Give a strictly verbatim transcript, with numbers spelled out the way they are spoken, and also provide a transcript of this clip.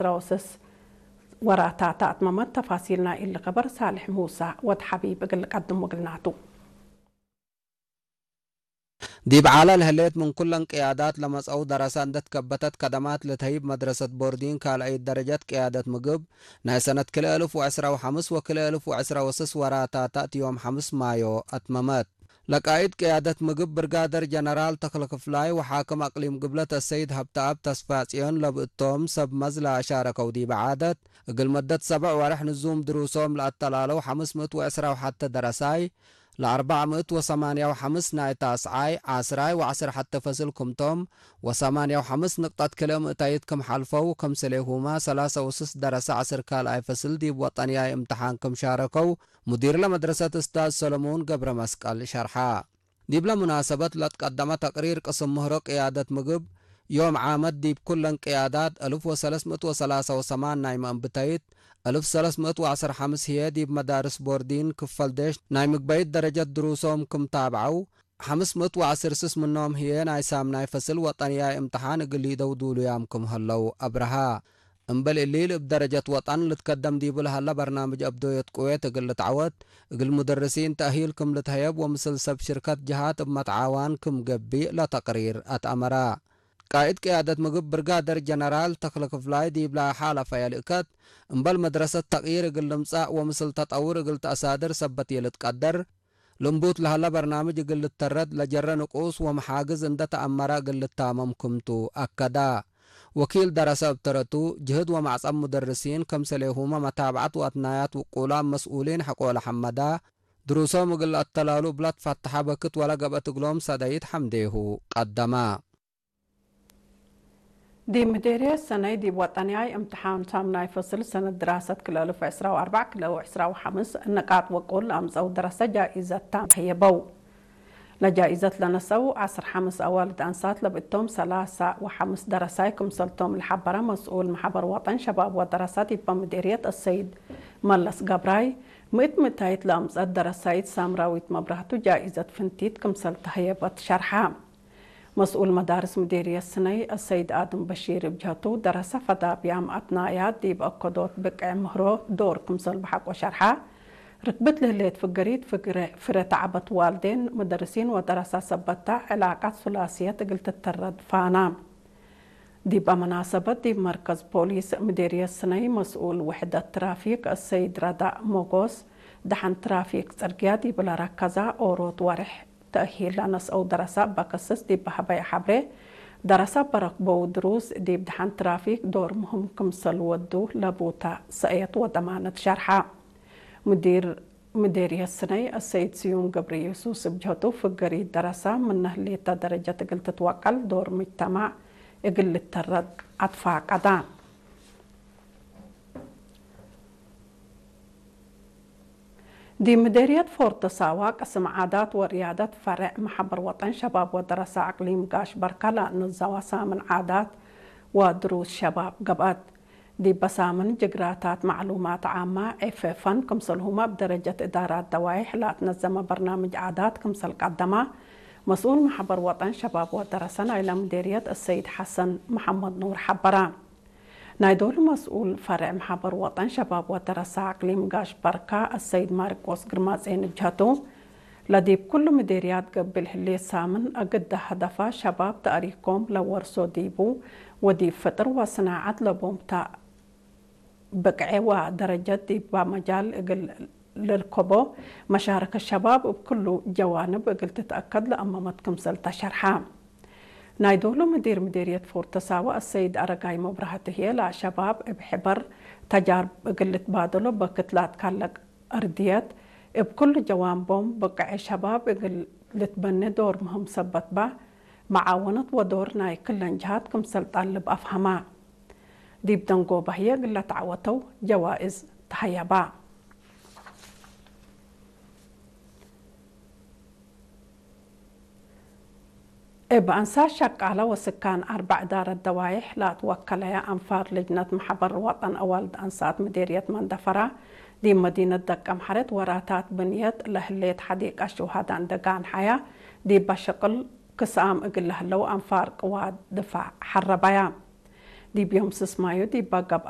ዕስራ ወሰስ ወራታታ አትመመት። ተፋሲል ናይ እሊ ከበር ሳልሕ ሙሳ ወድ ሐቢብ እግል ልቀድም ወግልናቱ። ዲብ ዓለ ለህሌት ምን ኩለን ቅያዳት ለመጽአው ደረሰ እንደ ትከበተት ከደማት ልትሀይብ መድረሰት ቦርዲን ካልአይት ደረጀት ቅያደት ምግብ ናይ ሰነት ክልኤ እልፍ ወዕስራ ወሐምስ ወክልኤ እልፍ ወዕስራ ወስስ ወራታታ እት ዮም ሐምስ ማዮ አትመመት። ለቃኢድ ቅያደት ምግብ ብርጋደር ጀነራል ተክለ ክፍላይ ወሓክም አቅሊም ግብለት አሰይድ ሀብተአብ ተስፋጽዮን ለብእቶም ሰብ መዝ ለአሻረከው ዲበ ዓደት፣ እግል መደት ሰብዕ ወርሕ ንዙም ድሩሶም ለአተላለው ሐምስ ምእት ወዕስራ ወሐተ ደረሳይ፣ ለአርበዕ ምእት ወሰማንያ ወሐምስ ናይ ታስዓይ፣ ዓስራይ ወዐስር ሐተ ፈስል ክምቶም፣ ወሰማንያ ወሐምስ ንቅጠት ክልኤ ምእታይት ክም ሐልፈው፣ ክምስሌሁመ ሰላሰ ወስስ ደረሰ ዐስር ካልኣይ ፈስል ዲብ ወጠንያይ እምተሓን ክም ሻረከው፣ ሙዲር ለመድረሰት እስታዝ ሰለሙን ገብረ መስቀል ሸርሐ። ዲብለ ሙናሰበት ለትቀደመ ተቅሪር ቅስም ምህሮ ቅያደት ምግብ፣ ዮም ዓመት ዲብ ኩለን ቅያዳት፣ እልፍ ወሰለስ ምእት ወሰላሰ ወሰማን ናይ መእንብተይት፣ እልፍ ሰለስ ምእት ወዐስር ሐምስ ህዬ ዲብ መዳርስ ቦርዲን ክፈል ዴሽ ናይ ምግበይት ደረጀት ድሩሶም ክም ታብዐው፣ ሐምስ ምእት ወዐስር ስስ ምኖም ህዬ ናይ ሳምናይ ፈስል ወጠንያይ እምተሓን እግል ሊደው ዱሉያም ክም ህለው አብረሃ። እምበል እሊ፣ እብ ደረጀት ወጠን ልትከደም ዲቡ ለሀለ በርናምጅ አብዶየት ቅዌት እግል ልትዐወት፣ እግል ሙደርሲን ተእሂል ክም ልትሀየብ ወምስል ሰብ ሽርከት ጀሃት እብ መትዓዋን ክም ገብእ ለተቅሪር አትአመረ። ቃእድ ቅያደት ምግብ ብርጋደር ጀነራል ተክለ ክፍላይ ዲብላ ሓለፈ የልእከት፣ እምበል መድረሰት ተቅይር እግል ልምጸእ ወምስል ተጠውር እግል ተአሳድር ሰበት የልትቀደር፣ ልንቡት ለሀለ በርናምጅ እግል ልተረድ ለጀረ ንቁስ ወመሓግዝ እንደ ተአመረ እግል ልታመም ክምቱ አከደ። ወኪል ደረሰ እብ ተረቱ፣ ጅህድ ወመዕጸም ሙደርሲን፣ ከምሰሌሁመ መታብዐት ወአትናያት ውቁላም መስኡሊን ሐቆለ ሐመደ፣ ድሩሶም እግል ለአተላሉ እብለ ትፈተሐ በክት ወለ ገብአት እግሎም ሰደይት ሐምዴሁ ቀደመ። ዲብ ምዴርየት ሰነይ ዲብ ወጠንያይ እምትሓን ሳምናይ ፈስል ሰነት ድራሰት ክልኤ እልፍ ወዕስራ ወአርበዕ ክልኤ ወዕስራ ወሐምስ ነቃጥ ወቁል ለአምጸው ደረሰ ጃኢዘት ታም ተህየበው። ለጃኢዘት ለነሰው ዐስር ሐምስ አዋልድ አንሳት ለብእቶም ሰላሳ ወሐምስ ደረሳይ ክምሰልቶም ለሐበረ መስኡል መሐበር ወጠን ሸባብ ወደረሰ ዲበ ምዴርየት አሰይድ መለስ ገብራይ፣ ምእት ምእታይት ለአምጸት ደረሳይት ሳምራዊት መብራህቱ ጃኢዘት ፍንቲት ክምሰል ተህየበት ሸርሐ። መስኡል መዳርስ ምዴርየት ስነይ አሰይድ አድም በሺር እብ ጀህቱ፣ ደረሰ ፈዳብያም አትናያት ዲብ አከዶት ብቅዕ ምህሮ ዶር ክምሰል በሐቆ ሸርሐ። ርክብት ለህሌት ፍገሪት ፍግረ-፣ ፍረ ተዐበት ዋልዴን፣ መደርሲን ወደረሰ ሰበታ ዕላቀት ሱላስየት እግል ትተረድ ፋና። ዲበ መናሰበት ዲብ መርከዝ ፖሊስ ምዴርየት ስነይ መስኡል ውሕደት ትራፊክ አሰይድ ረዳእ ሞጎስ፣ ደሐን ትራፊክ ጽርግያ ዲብ ለረከዛ ኦሮት ወሬሕ ተእሂል ለነስአው ደረሰ እበ ክስስ ዲብ ሀበየ ሐብሬ፣ ደረሰ እበ ረክበው ድሩስ ዲብ ደሐን ትራፊክ ዶር ምህም ክምሰል ወዱ ለቡተ ሰእየት ወደማነት ሸርሐ። ሙዲር ምዴርየት ስነይ አሰይድ ስዩም ገብረየሱስ እብ ጀህቱ፣ ፍገሪት ደረሰ ምነ ህሌተ ደረጀት እግል ትትወቀል ዶር ሙጅተማዕ እግል ልተረድ አትፋቀደ። ዲብ ምዴርየት ፎርቶ ሳዋ ቅስም ዓዳት ወርያደት ፈሬዕ መሐበር ወጠን ሸባብ ወደረሰ አቅሊም ጋሽ በርከ ለአነዘወ ሳምን ዓዳት ወድሩስ ሸባብ ገብአት። ዲበ ሳምን ጅግራታት መዕሉማት ዓመ፣ ኤፍ ኤፍ ኤን፣ ክምሰልሁመ እብ ደረጀት እዳራት ደዋይሕ ለአትነዘመ በርናምጅ ዓዳት ክምሰል ቀደመ መስኡል መሐበር ወጠን ሸባብ ወደረሰ ናይለ ምዴርየት አሰይድ ሐሰን መሐመድ ኑር ሐበረ። ናይ ዶሉ መስኡል ፈሬዕ መሐበር ወጠን ሸባብ ወደረሰ አቅሊም ጋሽ በርከ አሰይድ ማርቆስ ግርማጼ እብ ጀህቱ፣ ለዲብ ኩሉ ምዴርያት ገብእ ለህሌት ሳምን አግደ ሀደፋ ሸባብ ተእሪኮም ለወርሶ ዲቡ ወዲብ ፍጥር ወስናዐት ለቦም ተ ብቅዔ ወደረጀት ዲበ መጃል እግል ልርከቦ መሻረከት ሸባብ እብ ክሉ ጀዋንብ እግል ትትአከድ ለአመመት ክምሰል ተሸርሐ። ናይ ዶሉ ምዲር ምዴርየት ፎርቶ ሳዋ አሰይድ አረጋይ መብራህቱ ህዬ፣ ለሸባብ እብ ሕበር ተጃርብ እግል ልትባደሎ በክት ላትካለቅ እርድየት፣ እብ ክሉ ጀዋንቦም ብቅዔ ሸባብ እግል ልትበኔ ዶር ምህም ሰበት በ፣ መዓወነት ወዶር ናይ ክለን ጀሃት ክምሰል ጠልብ አፍሀመ። ዲብ ደንጎበ ህዬ እግል ለተዐወተው ጀዋእዝ ተሀየበ። እብ አንሳት ሸቃለ ወስካን አርበዕ እዳረት ደዋይሕ ለአትወከለየ አንፋር ልጅነት መሐበር ወጠን አዋልድ አንሳት ምዴርየት መንደፈራ፣ ዲብ መዲነት ደቀምሐሬት ወራታት ብንየት ለህሌት ሐዲቀ ሹሃዳ እንዴ ጋንሐያ፣ ዲበ ሽቅል ክስአም እግል ለህለው አንፋር ቅዋት ድፋዕ ሐረበያ። ዲብ ዮም ስስ ማዩ ዲበ ገብአ